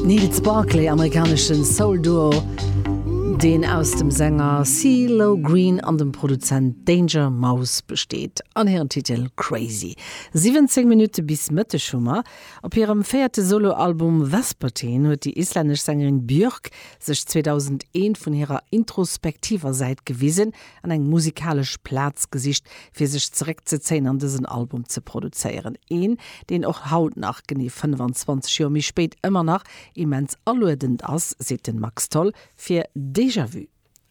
Nils Barclay, amerikanesche Soul-Duo, deen aus dem Sänger Cee-Lo Green an dem Produzent Danger Mouse besteet, an hiren Titel Crazy. 17 Minutte bis Mëtteg hu mer. Op hirem véierte Soloalbum Vespertine huet déi islännesch Sängerin Björk sech 2001 vun hirer introspektiver Säit gewisen an eng musikalesch Plaz gesicht, fir sech zeréckzezéien an dësen Album ze produzéieren. Een, deen och haut nach, genee 25 Joer méi spéit, ëmmer nach immens aluedend ass, seet den Max Tholl fir Déjà Vu.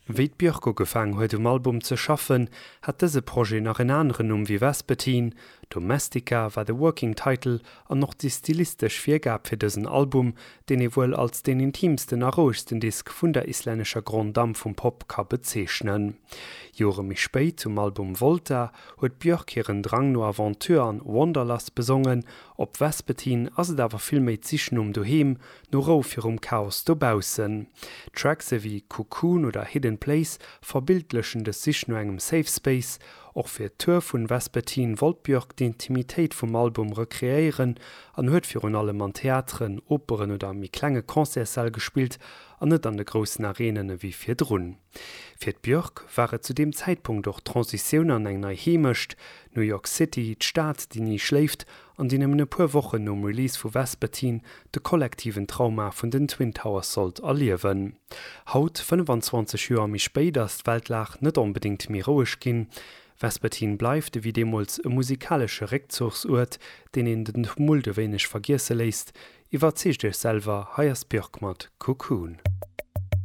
Wéi d'Björk ugefaang huet um Album ze schaffen, hat dëse Projet nach en aneren Numm wéi Vespertine. Domestica war de Working Title an och déi stilistesch Virgab fir dësen Album, deen ee wuel als deen intiimsten a rouegsten Disk vun der islännescher Grande Dame vum Pop ka bezeechnen. Jore méi spéit, um Album Volta, huet d'Björk hiren Drang no Aventure an Wanderlust besongen. Op Vespertine ass et awer vill méi d'Sich nom Doheem, no Rou virum Chaos dobaussen. Tracks ewéi Cocoon oder Hidden Place verbildlechen dës Sich no engem Safe Space. Och fir d'Tour vun Vespertine wollt d'Björk d'Intimitéit vum Album rekreéieren an huet virun allem an Theateren, Operen oder méi klenge Concertssäll gespillt an net an de groussen Arenen ewéi virdrun. Fir d'Björk war et zu deem Zäitpunkt och d'Transitioun an eng nei Heemecht, New York City, d'Stad déi ni schléift an déi nëmmen e puer Wochen nom Release vu Vespertine de kollektiven Trauma vun den Twin Towers sollt erliewen. Haut, 25 Joer méi spéit, ass d'Weltlag net onbedéngt méi roueg ginn. Vespertine bleift, ewéi deemools, e musikalesche Réckzuchsuert, deen een den Tumult e wéineg vergiesse léisst. Iwwerzeegt iech selwer, hei ass d'Björk mat Cocoon.